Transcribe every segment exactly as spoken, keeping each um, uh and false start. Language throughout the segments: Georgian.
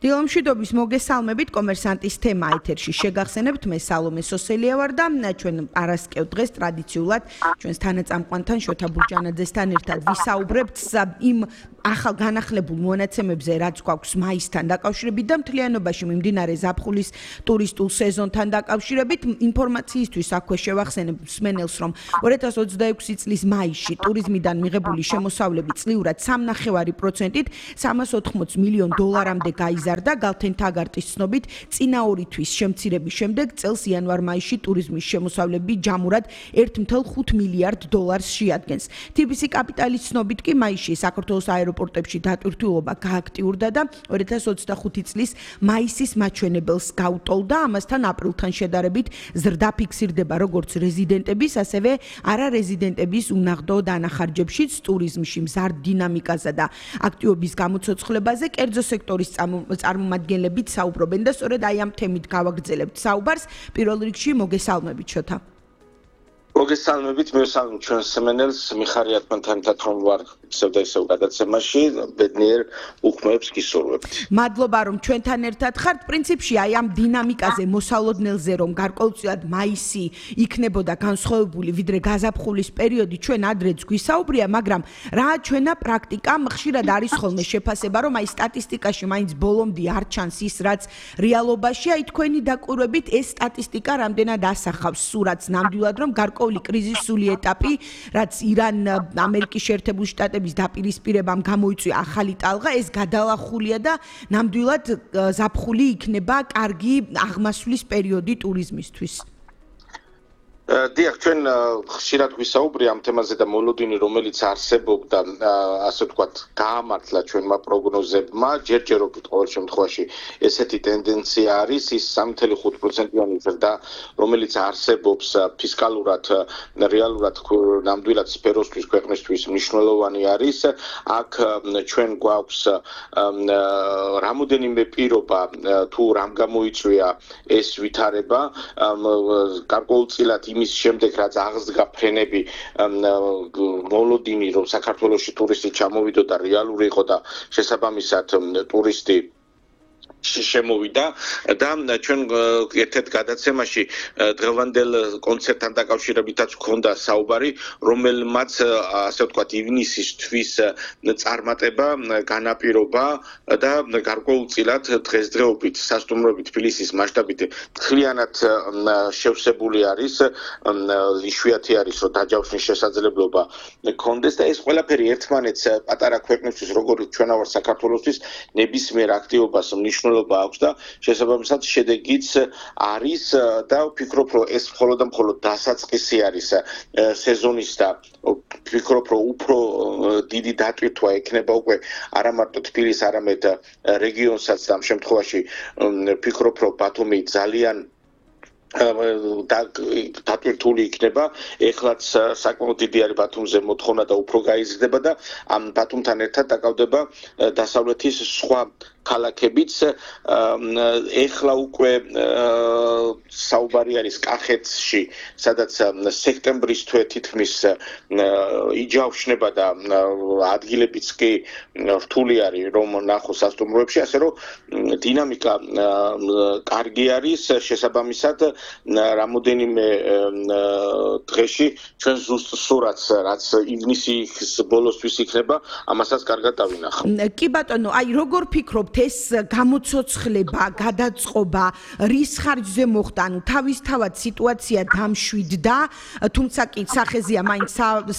დილომშვიდობის მოგესალმებით კომერსანტის თემა ეთერში შეგახსენებთ მე სალომე სოსელია ვარ და ჩვენ პარასკევ დღეს ტრადიციულად ჩვენს თანაწამყვანთან შოთა ბურჯანაძესთან ერთად ვისაუბრებთ იმ ახალ განახლებულ მონაცემებზე რაც გვაქვს მაისთან დაკავშირებით და მთლიანობაში მიმდინარე ზაფხულის ტურისტულ სეზონთან დაკავშირებით ინფორმაციისთვის აქვე შევახსენებ მსმენელს რომ ორი ათას ოცდაექვსი წლის მაისში ტურიზმიდან მიღებული შემოსავლები წლიურად სამი ნახევარი პროცენტით სამას ოთხმოც მილიონ დოლარამდე გაიზარდა გალთენ თაგარტის ცნობით წინა ორი თვის შემცირების შემდეგ წელს იანვარ-მაისში ტურიზმის შემოსავლები ჯამურად ერთ ათას ხუთ მილიარდ დოლარს შეადგენს. თი ბი სი კაპიტალის ცნობით კი მაისში საქართველოს აეროპორტებში დატვირთულობა გააქტიურდა და ორი ათას ოცდახუთი წლის მაისის მაჩვენებელს გაუტოლდა. ამასთან აპრილთან შედარებით ზრდა ფიქსირდება როგორც რეზიდენტების, ასევე არარეზიდენტების უნაღდო დანახარჯებშიც ტურიზმში მზარდ დინამიკაზე და აქტივობის გამოცოცხლებაზე კერძო სექტორის წარმომადგენლებით საუბრობენ და სწორედ აი ამ თემით გავაგრძელებთ საუბარს. პირველ რიგში მოგესალმებით შოთა. მოგესალმებით, მივესალმებით ჩვენს მსმენელს, მიხარია თქვენთან ერთად რომ ვარ ისევ და ისევ გადაცემაში, ბედნიერ უხმოებს გისურვებთ. მადლობა რომ ჩვენთან ერთად ხართ. პრინციპში აი ამ დინამიკაზე მოსალოდნელზე რომ გარკვეულწილად მაისი იქნებოდა განსხვავებული ვიდრე გაზაფხულის პერიოდი ჩვენ ადრეც გვისაუბრია, მაგრამ რა ჩვენა პრაქტიკა ხშირად არის ხოლმე შეფასება რომ აი სტატისტიკაში მაინც ბოლომდე არ ჩანს ის რაც რეალობაშია. აი თქვენი დაკვირვებით ეს სტატისტიკა რამდენად ასახავს სურათს ნამდვილად რომ გარკვეული კრიზისული ეტაპი, რაც ირან ამერიკის შეერთებული შტატების დაპირისპირებამ გამოიწვია ახალი ტალღა, ეს გადალახულია და ნამდვილად ზაფხული იქნება კარგი აღმასვლის პერიოდი ტურიზმისთვის. დიახ, ჩვენ ხშირად ვისაუბრია ამ თემაზე და მოლოდინი რომელიც არსებობდა, ასე ვთქვათ, გაამართლა ჩვენმა პროგნოზებმა, ჯერჯერობით ყოველ შემთხვევაში ესეთი ტენდენცია არის, ის სამი ათას ხუთ პროცენტიანი ზრდა, რომელიც არსებობს ფისკალურად, რეალურად ნამდვილად სფეროსთვის, ქვეყნისთვის მნიშვნელოვანი არის. აქ ჩვენ გვაქვს რამოდენიმე პირობა, თუ რამ გამოიწვია ეს ვითარება, გარკვეულწილად იმის შემდეგ რაც აღსდგა ფრენები მოლოდინი რომ საქართველოში ტურისტი ჩამოვიდოდა რეალური იყო და შესაბამისად ტურისტი შემოვიდა და ჩვენ ერთ-ერთ გადაცემაში დღევანდელ კონცერტთან დაკავშირებითაც ჰქონდა საუბარი, რომელმაც ასე ვთქვათ ივნისის თვის წარმატება განაპირობა და გარკვეულწილად დღესდღეობით სასტუმროებით თბილისის მასშტაბით მთლიანად შევსებული არის, იშვიათი არის რომ დაჯავშნის შესაძლებლობა ჰქონდეს და ეს ყველაფერი ერთმანეთს პატარა ქვეყნისთვის როგორც ჩვენა ვარ საქართველოსთვის ნებისმიერ აქტივობას მნიშვნელობა აქვს და შესაბამისად შედეგიც არის და ვფიქრობ რომ ეს მხოლოდ და მხოლოდ დასაწყისი არის სეზონის და ვფიქრობ რომ უფრო დიდი დატვირთვა ექნება უკვე არა მარტო თბილისს, არამედ რეგიონსაც და ამ შემთხვევაში ვფიქრობ რომ ბათუმი ძალიან დატვირთული იქნება. ეხლაც საკმაოდ დიდი არის ბათუმზე მოთხოვნა და უფრო გაიზრდება და ამ ბათუმთან ერთად დაკავდება დასავლეთის სხვა ქალაქებიც. ეხლა უკვე საუბარი არის კახეთში, სადაც სექტემბრის თვე თითქმის იჯავშნება და ადგილებიც კი რთული არის რომ ნახოს სასტუმროებში, ასე რომ დინამიკა კარგი არის. შესაბამისად რამოდენიმე დღეში ჩვენ ზუსტ სურათს რაც ივნისის ბოლოსთვის იქნება, ამასაც კარგად დავინახავ. კი ბატონო, აი როგორ ფიქრობ ეს გამოცოცხლება, გადაწყობა რის ხარჯზე მოხდა, ანუ თავისთავად სიტუაცია დამშვიდდა, თუმცა კი სახეზია მაინც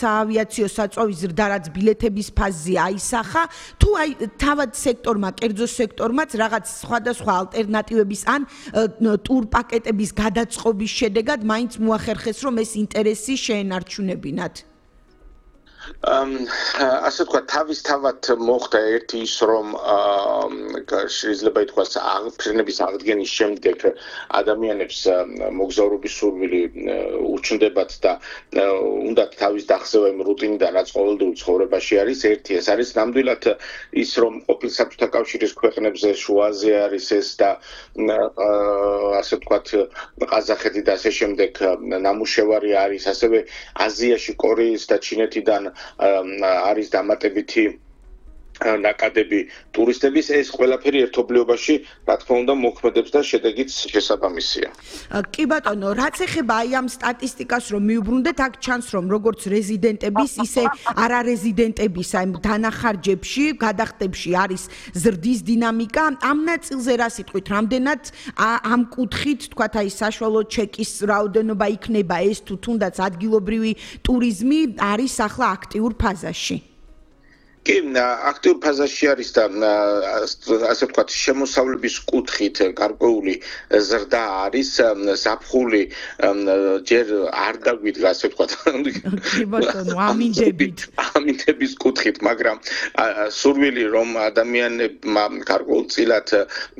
საავიაციო საწვავის ზრდა, რაც ბილეთების ფაზზე აისახა, თუ აი თავად სექტორმა, კერძო სექტორმაც რაღაც სხვადასხვა ალტერნატივების ან ტურ პაკეტების გადაწყობის შედეგად მაინც მოახერხეს რომ ეს ინტერესი შეენარჩუნებინათ. ასე ვთქვათ, თავისთავად მოხდა ერთი ის რომ შეიძლება ითქვას ფრენების აღდგენის შემდეგ ადამიანებს მოგზაურობის სურვილი უჩნდებათ და უნდათ თავის დახსევა იმ რუტინიდან რაც ყოველდღიურ ცხოვრებაში არის. ერთი ეს არის ნამდვილად ის რომ ყოფილ საბჭოთა კავშირის ქვეყნებზე შუაზე არის ეს და ასე ვთქვათ ყაზახეთი და ასე შემდეგ ნამუშევარი არის, ასევე აზიაში კორეის და ჩინეთიდან არის დამატებითი ნაკადები ტურისტების ეს ყველაფერი ერთობლიობაში რა თქმა უნდა მოქმედებს და შედეგიც შესაბამისია. კი ბატონო, რაც ეხება აი ამ სტატისტიკას რომ მიუბრუნდეთ, აქ ჩანს რომ როგორც რეზიდენტების, ისე არარეზიდენტების აი დანახარჯებში, გადახდებში არის ზრდის დინამიკა. ამ ნაწილზე რა სიტყვით, რამდენად ამ კუთხით, თქვათ აი საშუალო ჩეკის რაოდენობა იქნება ეს თუ თუნდაც ადგილობრივი ტურიზმი არის ახლა აქტიურ ფაზაში? კი, აქტიურ ფაზაში არის და ასე ვთქვათ, შემოსავლების კუთხით გარკვეული ზრდა არის, ზაფხული ჯერ არ დაგვიდგა, ასე ვთქვათ. კი ბატონო, ამინდებით. ამინდების კუთხით, მაგრამ სურვილი რომ ადამიანებმა გარკვეულწილად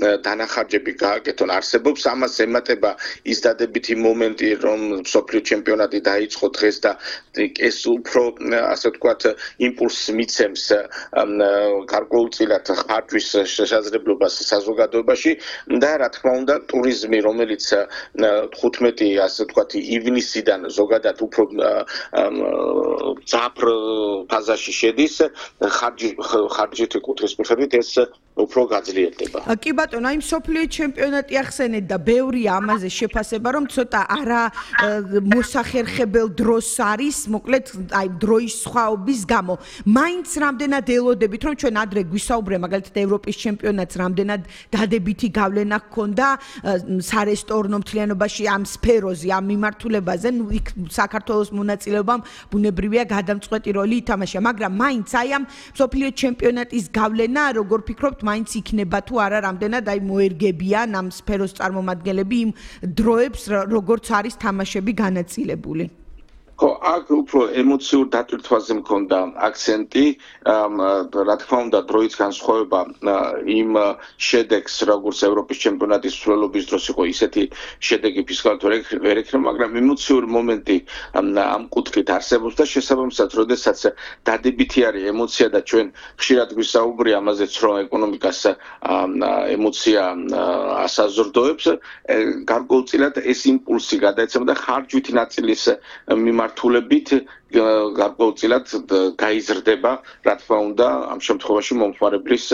დანახარჯები გააკეთონ არსებობს, ამას ემატება ის დადებითი მომენტი, რომ მსოფლიო ჩემპიონატი დაიწყო დღეს და ეს უფრო ასე ვთქვათ, იმპულსს მიცემს გარკვეულწილად ხარჯვის შესაძლებლობას საზოგადოებაში და რა თქმა უნდა ტურიზმი რომელიც თხუთმეტი ასე ვთქვათ ივნისიდან ზოგადად უფრო ძაფრ ფაზაში შედის ხარჯი ხარჯითი კუთხის მიხედვით ეს უფრო გაძლიერდება. კი ბატონო, აი მსოფლიო ჩემპიონატი ახსენეთ და ბევრია ამაზე შეფასება, რომ ცოტა არა მოსახერხებელ დროს არის, მოკლედ აი დროის სხვაობის გამო. მაინც რამდენად ელოდებით, რომ ჩვენ ადრე გვისაუბრე, მაგალითად ევროპის ჩემპიონატს რამდენად დადებითი გავლენა ჰქონდა სარესტორნო მთლიანობაში ამ სფეროზე, ამ მიმართულებაზე, ნუ იქ საქართველოს მონაწილეობამ ბუნებრივია გადამწყვეტი როლი ითამაშა, მაგრამ მაინც აი ამ მსოფლიო ჩემპიონატის გავლენა, როგორ ფიქრობთ, მაინც იქნება თუ არა რამდენად აი მოერგებიან ამ სფეროს წარმომადგენლები იმ დროებს, როგორც არის თამაშები განაწილებული. ხო, აქ უფრო ემოციურ დატვირთვაზე მქონდა აქცენტი, რა თქმა უნდა, დროის განსხვავება იმ შედეგს, როგორც ევროპის ჩემპიონატის მსვლელობის დროს იყო, ისეთი შედეგი ფისკალურად ვერ ექნება, მაგრამ ემოციური მომენტი ამ კუთხით არსებობს და შესაბამისად, როდესაც დადებითი არის ემოცია და ჩვენ ხშირად გვისაუბრია ამაზეც, რომ ეკონომიკას ემოცია ასაზრდოებს, გარკვეულწილად ეს იმპულსი გადაეცემა და ხარჯვითი ნაწილის მიმართ თულებით გარკვეულწილად გაიზრდება, რა თქმა უნდა, ამ შემთხვევაში მომხმარებლის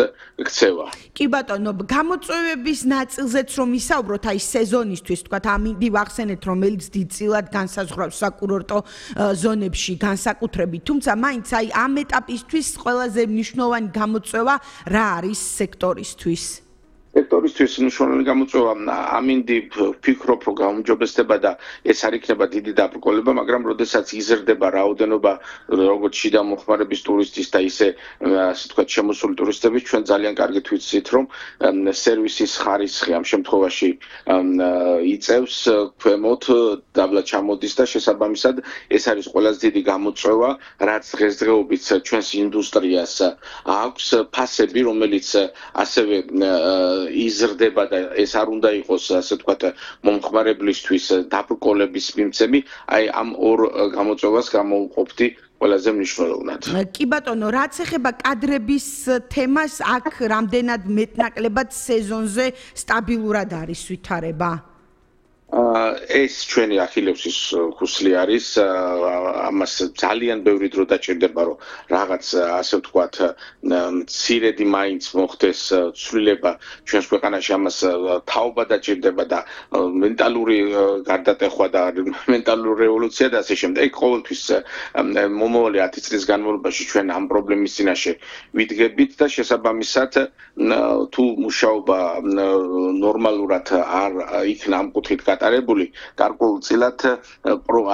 ქცევა. კი ბატონო, გამოწვევების ნაწილზეც რომ ვისაუბროთ, აი სეზონისთვის, თქვათ, ამინდი ვახსენეთ, რომელიც დიდწილად განსაზღვრავს საკურორტო ზონებში განსაკუთრებით, თუმცა მაინც აი ამ ეტაპისთვის ყველაზე მნიშვნელოვანი გამოწვევა რა არის სექტორისთვის? სექტორისთვის მნიშვნელოვანი გამოწვევა ამინდი ვფიქრობ, რომ გაუმჯობესდება და ეს არ იქნება დიდი დაბრკოლება, მაგრამ როდესაც იზრდება რაოდენობა როგორც შიდა მოხმარების ტურისტის და ისე ასე ვთქვათ შემოსული ტურისტების, ჩვენ ძალიან კარგით ვიცით, რომ სერვისის ხარისხი ამ შემთხვევაში იწევს ქვემოთ, დაბლა ჩამოდის და შესაბამისად ეს არის ყველაზე დიდი გამოწვევა, რაც დღესდღეობით ჩვენს ინდუსტრიას აქვს ფასები, რომელიც ასევე იზრდება და ეს არ უნდა იყოს ასე ვთქვათ მომხმარებლისთვის დაბრკოლების მიმცემი, აი ამ ორ გამოწვევას გამოვყოფდი ყველაზე მნიშვნელოვნად. კი ბატონო, რაც ეხება კადრების თემას, აქ რამდენად მეტნაკლებად სეზონზე სტაბილურად არის ვითარება? ეს ჩვენი ახილევსის ქუსლი არის, ამას ძალიან ბევრი დრო დაჭირდება, რომ რაღაც ასე ვთქვათ, მცირედი მაინც მოხდეს ცვლილება ჩვენს ქვეყანაში, ამას თაობა დაჭირდება და მენტალური გარდატეხვა და მენტალური რევოლუცია და ასე შემდეგ. ყოველთვის მომავალი ათი წლის განმავლობაში ჩვენ ამ პრობლემის წინაშე ვიდგებით და შესაბამისად თუ მუშაობა ნორმალურად არ იქნა ამ კუთხით გატარებული, გარკვეულწილად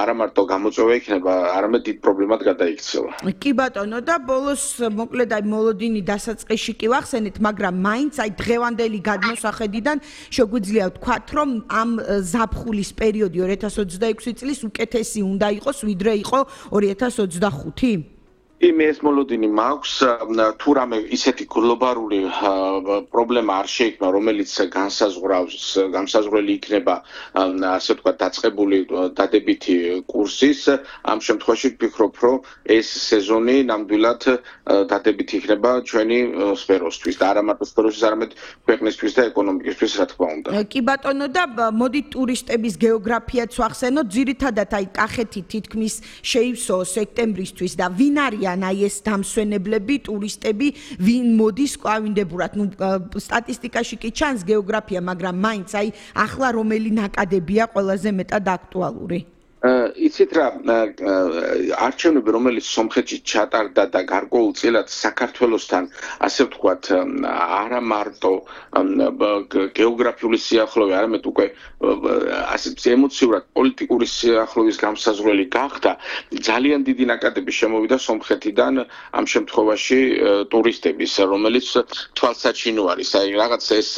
არა მარტო გამოწვევა იქნება, არამედ დიდ პრობლემად გადაიქცევა. კი ბატონო, და ბოლოს მოკლედ აი მოლოდინი დასაწყისში კი ვახსენეთ, მაგრამ მაინც აი დღევანდელი გადმოსახედიდან შეგვიძლია ვთქვათ, რომ ამ ზაფხულის პერიოდი ორი ათას ოცდაექვსი წლის უკეთესი უნდა იყოს, ვიდრე იყო ორი ათას ოცდახუთი? მე ეს მოლოდინი მაქვს, თუ რამე ისეთი გლობალური პრობლემა არ შეიქმნა, რომელიც განსაზღვრავს, განსაზღვრელი იქნება, ასე ვთქვათ, დაწყებული დადებითი კურსის, ამ შემთხვევაში ვფიქრობ, რომ ეს სეზონი ნამდვილად დადებითი იქნება ჩვენი სფეროსთვის და არა მარტო სფეროსთვის, არამედ ქვეყნისთვის და ეკონომიკისთვის, რა თქმა უნდა. კი ბატონო, და მოდით ტურისტების გეოგრაფიაც ვახსენოთ, ძირითადად აი კახეთი თითქმის შეივსო სექტემბრისთვის და ვინ არის არიან აი ეს დამსვენებლები, ტურისტები, ვინ მოდის კვლავინდებურად. ნუ სტატისტიკაში კი ჩანს გეოგრაფია, მაგრამ მაინც აი ახლა რომელი ნაკადებია ყველაზე მეტად აქტუალური? იცით რა, არჩევნები, რომელიც სომხეთში ჩატარდა და გარკვეულწილად საქართველოსთან, ასე ვთქვათ, არა მარტო გეოგრაფიული სიახლოვე, არამედ უკვე ასე ემოციურად პოლიტიკური სიახლოვის გამსაზღვრელი გახდა, ძალიან დიდი ნაკადები შემოვიდა სომხეთიდან ამ შემთხვევაში ტურისტების, რომელიც თვალსაჩინო არის. აი რაღაც ეს